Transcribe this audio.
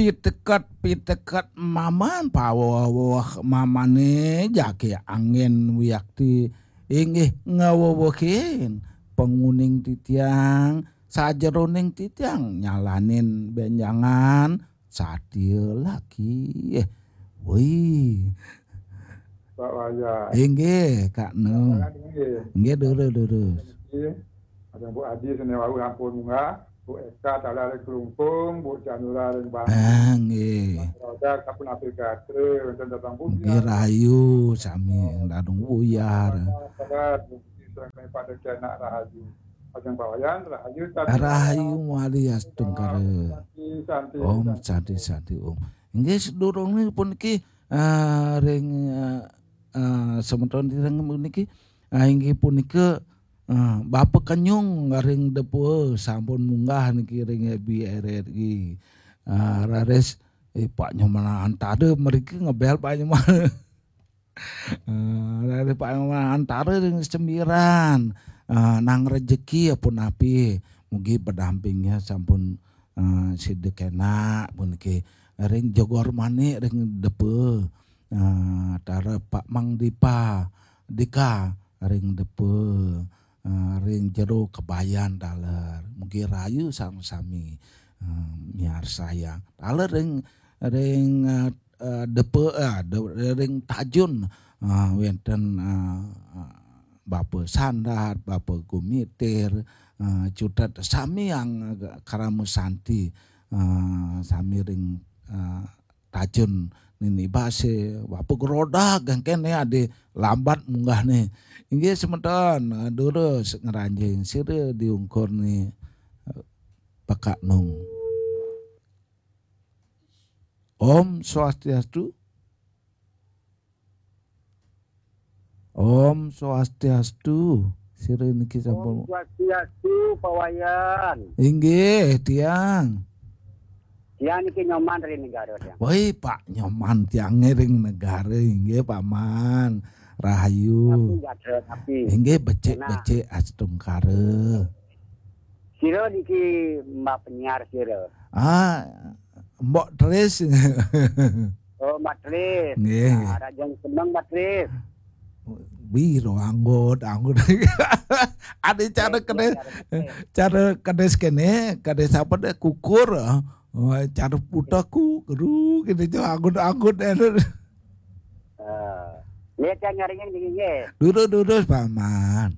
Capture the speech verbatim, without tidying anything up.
Piteket, piteket maman paweweh mamane jake angin wiakti inggih ngawewehin panguning titiang, sajeroning titiang nyalanin benjangan satia lagi. Eh, woi. Pak Wayan. Inggih, Kak Nu. Inggih, durus, durus. Ada Bu Adi sene wau ampun munggah, Bu Eka taler ring Klungkung, Bu Janura ring Bangli. Ah, nggih. Roda kapun apik gatre, wenten datang Bu. Nggih, rahayu sami dadung buyar. Sabar, Bu Adi sareng pada kenak rahayu. Ajeng Pak Wayan, rahayu, santi. Rahayu mawali astungkara. Santi, santi, Om santi. Santi, santi, Om. Inggih, sedurunge puniki, ah, ring, ah, ah, semeton ring puniki, ah, inggih punika, ah, Bapa Kenyung ring Depa sampun munggah niki ring F B R R I. Ah, raris, eh, Pak Nyoman Antara mriki ngebel Pak Nyoman. Eh, raris Pak Nyoman Antara ring Sembiran. Eh, nang rejeki ya punapi. Mugi pendampingnya sampun, eh, sida kenak puniki. Ring Jogor Manik ring Depa. Eh, tara Pak Mang Dipa, Dika ring Depa. Eh, ring Jero Kebayan taler. Mugi rahayu sami-sami, eh, miarsayang. Taler ring, ring, eh, eh, Depa, eh, de-, ring Tajun, eh, wenten, eh, eh, Bapa Sandat, Bapa Gumitir, eh, cutet sami ang, eh, Krama Santi, eh, sami ring, eh, Tajun Nini Base, Bapa Gerodak, kene ade lambat munggahne. Inggih semeton, eh, durus ngranjing sira diungkur ni, eh, Pak Nung. Om Swastiastu. Om Swastiastu. Sira niki sampun. Om Swastiastu, Pak Wayan. Inggih, tiang. Tiang niki Nyoman ring Negara, tiang. Woi, Pak Nyoman, tiang ring Negara, inggih, Paman. Rahayu. Tapi nggak ada, tapi. Inggih, becik-becik astungkara. Sira niki Mbak penyiar sira. Ah, Mbok Tris. Oh, Mbak Tris. Nggih. Nah, rajang seneng, Mbak Tris. Biro anggut, anggut. Ada cara kene, cara kene kene, kene sapa deh kukur. Oh, cara putar ku, kru, kene jo anggut-anggut. Eh, lihat yang nyaringin dingin, nggih. Durus, durus, Paman.